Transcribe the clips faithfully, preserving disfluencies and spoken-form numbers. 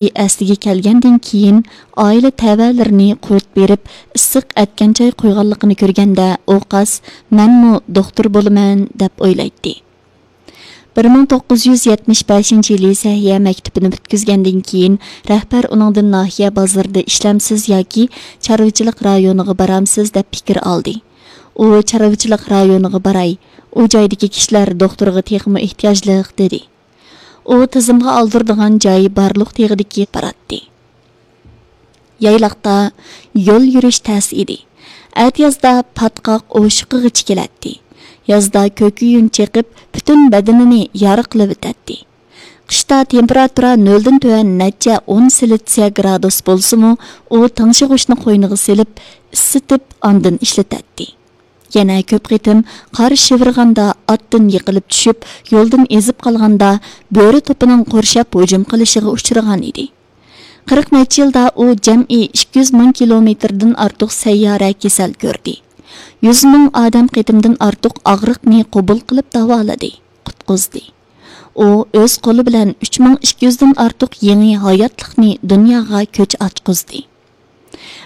ئەسلىگە كەلگەندىن كېيىن، ئائىلە تەۋەلىرىنى قۇرت بېرىپ، ئىسسىق ئەتكەن چاي قۇيغانلىقىنى كۆرگەندە، ئوقاس، مەنمۇ دوختۇر بولىمەن، دەپ ئويلايتتى. بىر مىڭ توققۇز يۈز يەتمىش بەشىنچى يىلى سەھىيە مەكتىپىنى پۈتكۈزگەندىن كېيىن، رەھبەر ئۇنىڭدىن ناھىيە بازىرىدا ئىشلەمسىز ياكى چارۋىچىلىق رايونىغا بارامسىز، دەپ پىكىر ئالدى. ئۇ چارۋىچىلىق رايونىغا باراي، ئۇ جايدىكى كىشىلەر دوختۇرغا تېخىمۇ ئېھتىياجلىق، دېدى. ئۇ تىزىمغا ئالدۇرىدىغان جاي بارلىق تېغىدىكى باراتتى. يايلاقتا يول يۈرۈش تەس ئىدى. ئەتىيازدا پاتقاق ئوشۇقىغىچە كېلەتتى. يازدا كۆكۈيۈن چېقىپ، پۈتۈن بەدىنىنى يارا قىلىۋېتەتتى. قىشتا تېمپېراتۇرا نۆلدىن تۆۋەن نەچچە ئون سېلتسىيە گرادۇس بولسىمۇ، ئۇ تىڭشىغۇچنى قوينىغا سېلىپ، ئىسسىتىپ، ئاندىن ئىشلىتەتتى. يەنە كۆپ قېتىم قار شىۋىرغاندا، ئاتتىن يىقىلىپ چۈشۈپ، يولدىن ئېزىپ قالغاندا، بۆرە توپىنىڭ قورشاپ ھۇجۇم قىلىشىغا ئۇچرىغان ئىدى. قىرىق نەچچە يىلدا ئۇ جەمئىي ئىككى يۈز مىڭ كىلومېتىردىن ئارتۇق سەييارە كېسەل كۆردى. يۈز مىڭ ئادەم قېتىمدىن ئارتۇق ئاغرىقنى قوبۇل قىلىپ داۋالىدى، قۇتقۇزدى. ئۇ ئۆز قولى بىلەن ئۈچ مىڭ ئىككى يۈزدىن ئارتۇق يېڭى ھاياتلىقنى دۇنياغا كۆچ ئاچقۇزدى.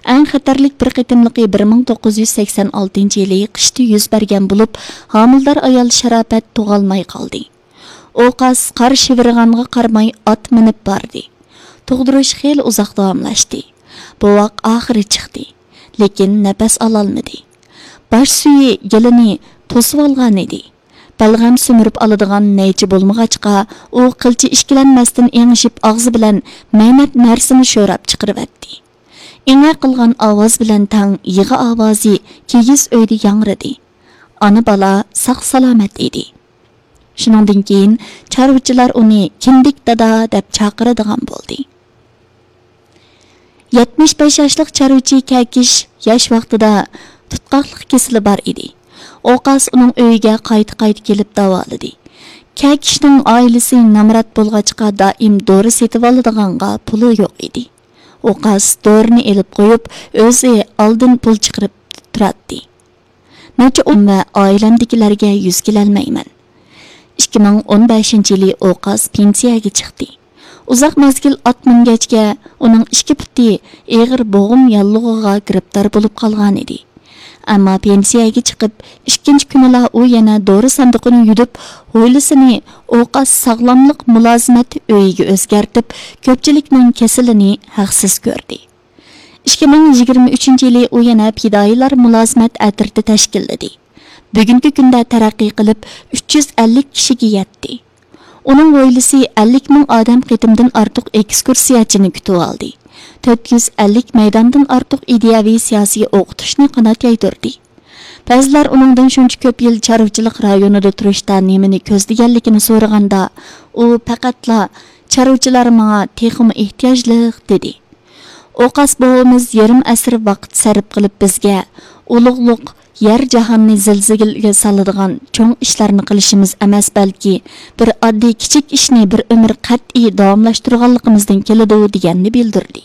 ئەڭ خەتەرلىك بىر قېتىملىقى بىر مىڭ توققۇز يۈز سەكسەن ئالتىنچى يىلى قىشتا يۈز بەرگەن بولۇپ، ھامىلىدار ئايال شاراپەت تۇغالماي قالدى. ئوقاس قار شىۋىرغانغا قارىماي ئات مىنىپ باردى. تۇغدۇرۇش خېلى ئۇزاق داۋاملاشتى. بوۋاق ئاخىرى چىقتى، لېكىن نەپەس ئالالمىدى. باش سۈيى گېلىنى توسۇۋالغان ئىدى. بەلغەم سۈمۈرۈپ ئالىدىغان نەيچە بولمىغاچقا، ئۇ قىلچە ئىككىلەنمەستىن ئېڭىشىپ، ئاغزى بىلەن مەينەت نەرسىنى شوراپ چىقىرىۋەتتى. ئېڭە قىلغان ئاۋاز بىلەن تەڭ يىغا ئاۋازى كىگىز ئۆيدە ياڭرىدى. ئانا-بالا ساق-سالامەت ئىدى. شۇنىڭدىن كېيىن چارۋىچىلار ئۇنى كىندىك دادا دەپ چاقىرىدىغان بولدى. يەتمىش بەش ياشلىق چارۋىچى كەكىش ياش ۋاقتىدا تۇتقاقلىق كېسىلى بار ئىدى. ئوقاس ئۇنىڭ ئۆيىگە قايتا-قايتا كېلىپ داۋالىدى. كەكىشنىڭ ئائىلىسى نامرات بولغاچقا، دائىم دورا سېتىۋالىدىغانغا پۇلى يوق ئىدى. ئوقاس دورىنى ئېلىپ قويۇپ، ئۆزى ئالدىن پۇل چىقىرىپ تۇراتتى. نەچچە ئون ۋە ئائىلەمدىكىلەرگە يۈز كېلەلمەيمەن. ئىككى مىڭ ئون بەشىنچى يىلى ئوقاس پېنسىيەگە چىقتى. ئۇزاق مەزگىل ئات مىنگەچكە، ئۇنىڭ ئىككى پۇتى ئېغىر بوغۇم ياللۇغىغا گىرىپتار بولۇپ قالغان ئىدى. ئەمما پېنسىيەگە چىقىپ، ئىككىنچى كۈنىلا ئۇ يەنە دورا ساندۇقىنى يۈدۈپ، ھويلىسىنى ئوقاس ساغلاملىق مۇلازىمەت ئۆيىگە ئۆزگەرتىپ، كۆپچىلىكنىڭ كېسىلىنى ھەقسىز كۆردى. ئىككى مىڭ يىگىرمە ئۈچىنچى يىلى ئۇ يەنە پىدائىيلار مۇلازىمەت ئەترىتى تەشكىللىدى. بۈگۈنكى كۈندە تەرەققىي قىلىپ، ئۈچ يۈز ئەللىك كىشىگە يەتتى. ئۇنىڭ ھويلىسى ئەللىك مىڭ ئادەم قېتىمدىن ئارتۇق ئېكسكۇرسىيەچىنى كۈتۈۋالدى. تۆت يۈز ئەللىك مەيداندىن ئارتۇق ئىدىيەۋى سىياسىي ئوقۇتۇشنى قانات يايدۇردى. بەزىلەر ئۇنىڭدىن شۇنچە كۆپ يىل چارۋىچىلىق رايونىدا تۇرۇشتا نېمىنى كۆزلىگەنلىكىنى سورىغاندا، ئۇ پەقەتلا، «چارۋىچىلار ماڭا تېخىمۇ ئېھتىياجلىق» دېدى. ئوقاس بوۋىمىز يېرىم ئەسىر ۋاقىت سەرپ قىلىپ بىزگە، ئۇلۇغلۇق يەر جاھاننى زىلزىلىگە سالىدىغان چوڭ ئىشلارنى قىلىشىمىز ئەمەس، بەلكى بىر ئاددىي كىچىك ئىشنى بىر ئۆمۈر قەتئىي داۋاملاشتۇرغانلىقىمىزدىن كېلىدۇ، دېگەننى بىلدۈردى.